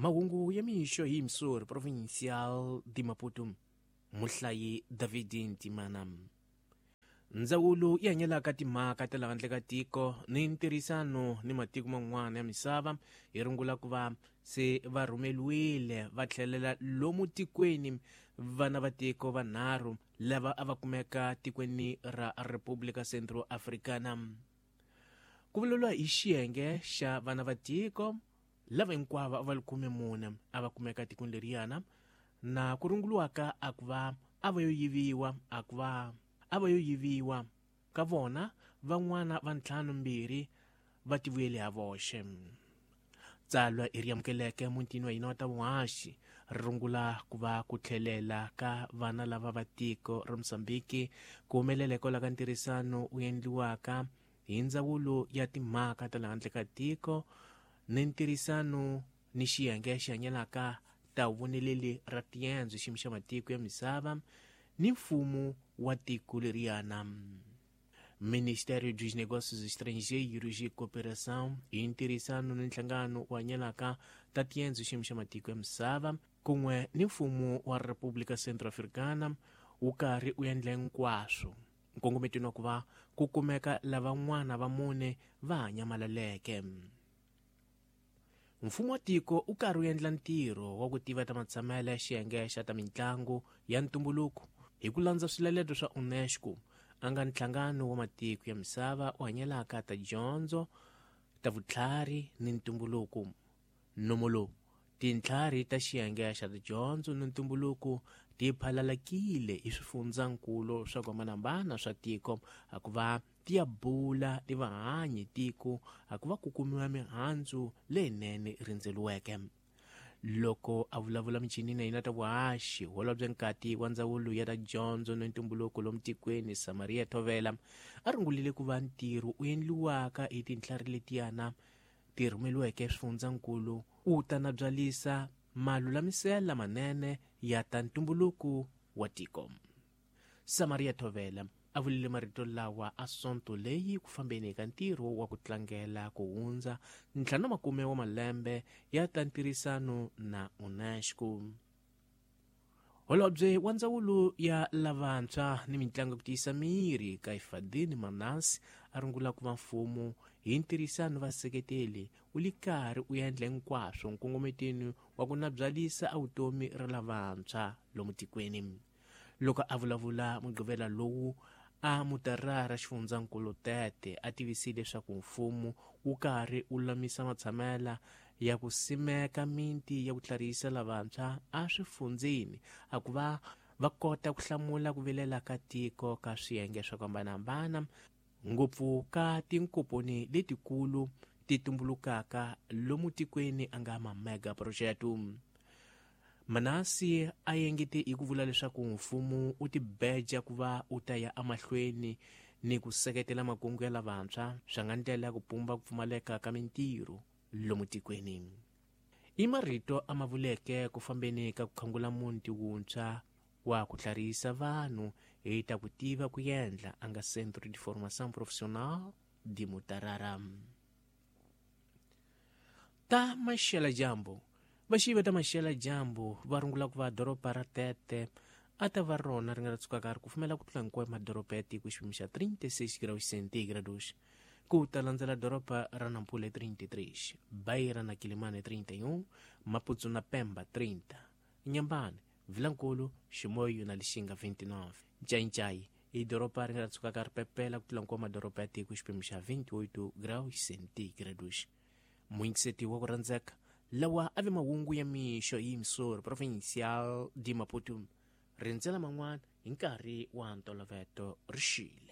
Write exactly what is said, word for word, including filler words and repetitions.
Mahungu ya mixo hi Missouri Provincial de Maputo. Muhlayi David Ntimana. Ndzawulo yi hanyelaka timhaka ta le handle ka tiko ni ntirhisano ni matiko man'wana ya misava hi rungula ku va se va rhumeliwile va tlhelela lomu tikweni vana va tiko vanharhu lava a va kumeka tikweni ra República Centro Africana. Ku vulavuriwa hi xiyenge xa vana va tiko lava hinkwavo a va li khume mune a va kumeka tikweni leriyana na ku runguriwaka a ku va a va yo yiviwa a ku va a va yo yiviwa ka vona van'wana va ntlhanu mbirhi va tivuyele ha voxe. Tsalwa i ri amukeleke mutini wa hina wa ta vuhaxi ri rungula ku va ku tlhelela ka vana lava va tiko ra Mozambique ku humelela hikwalaho ka ntirhisano wu endliwaka hi ndzawulo ya timhaka ta le handle ka tiko ni ntirhisano ni xiyenge xi hanyelaka ta voneleli ra tiendzo xiyimo xa matiko ya misava ni mfumo wa tiko leriyana. Ministério dos Negócios Estrangeiros e Cooperação hi ntirhisano ni nhlangano wa hanyelaka ta tiendzo xiyimo xa matiko ya misava kun'we ni mfumo wa República Centro-Africana wu karhi wu endla hinkwaswo nkongometweni wa ku va ku kumeka lavan'wana va mune va hanyamalaleke. Mfumo wa tiko wu karhi wu endla ntirho wa ku tiva ta matshamelo ya xiyenge xa ta mitlangu ya ntumbuluko hi ku landza swiletelo swa UNESCO a nga nhlangano wa matiko ya misava wu hanyelaka ta dyondzo ta vutlhari ni ntumbuluko. Nomo lowu tintlhari ta xiyenge xa tidyondzo ni ntumbuluko ti phalalakile hi swifundzankulu swa ku hambanahambana swa tiko a ku va ti ya bula ti vahanyi tiko a ku va ku kumiwa mihandzu leyinene rindzeliweke. Loko a vulavula michinini ya hina ta vuhaxi holobye nkati wa ndzawulo ya ta dyondzo ni ntumbuluko lomu tikweni Samaria Thovela a rungulile ku va ntirho wu endliwaka hi tintlhari letiyana ti rhumeliweke swifundzankulu wu ta na byalisa malulamisela manene ya ta ntumbuluko wa tiko. Samaria Thovela a vulile marito lawa a sonto leyi ku fambeni ka ntirho wa ku tlangela ku hundza ntlhanu makume wa malembe ya ta ntirhisano na UNESCO. Holobye wa ndzawulo ya lavantshwa ni mitlangu ku tiyisa miri Kaifadini Manasi a rungula ku va mfumo hi ntirhisano vaseketeli wu li karhi u endla hinkwaswo nkongometweni wa ku nabyalisa a vutomi ra lavantshwa lomu tikweni. Loko a vulavula Mugqivela lowu a Mutarara xifundzankulu Tete a tivisile leswaku mfumo wu karhi wu lulamisa matshamela ya ku simeka miti ya ku tlharihisa lavantshwa a swifundzeni a ku va va kota ku hlamula ku vilela ka tiko ka swiyenge swa ku hambanahambana ngopfu ka tinkomponi letikulu ti tumbulukaka lomu tikweni a nga ma mega project. Manasi a engete hi ku vula leswaku mfumo wu tibeja ku va wu ta ya emahlweni ni ku seketela makungu ya lavantshwa swa nga ndlela ya ku pumba ku pfumaleka ka mintirho lomu tikweni. I marito a ma vuleke ku fambeni ka ku khangula muti wuntshwa wa ku tlharihisa vanhu hi ta ku tiva ku endla a nga Centro de Formação Profissional de Mutarara. Ta maxela dyambu. Vaxivi ta maxela dyambu va rungula ku va doroba ra Tete a ta va rona ri nga ra tsukaka ri kufumela ku tlula hinkwayo madoroba ya tiko xipimo xa trinta e seis graus centígrados. Ku ta landzela doroba ra Nampula trinta e três, Beira na Quilimane trinta e um, Maputo na Pemba trinta, Inhambane, Vilankulo, Chimoio na Lixinga vinte e nove, Nchai-Nchai i doroba ri nga ra tsukaka ri pepela ku tlula hinkwayo madoroba ya tiko xipimo xa vinte e oito graus centígrados. Muyingiseti wa ku rhandzeka lawa a ve mahungu ya mixo hi Missouri Provincial de Maputo. Rindzela man'wana hi nkarhi wa ntolovelo ri xile.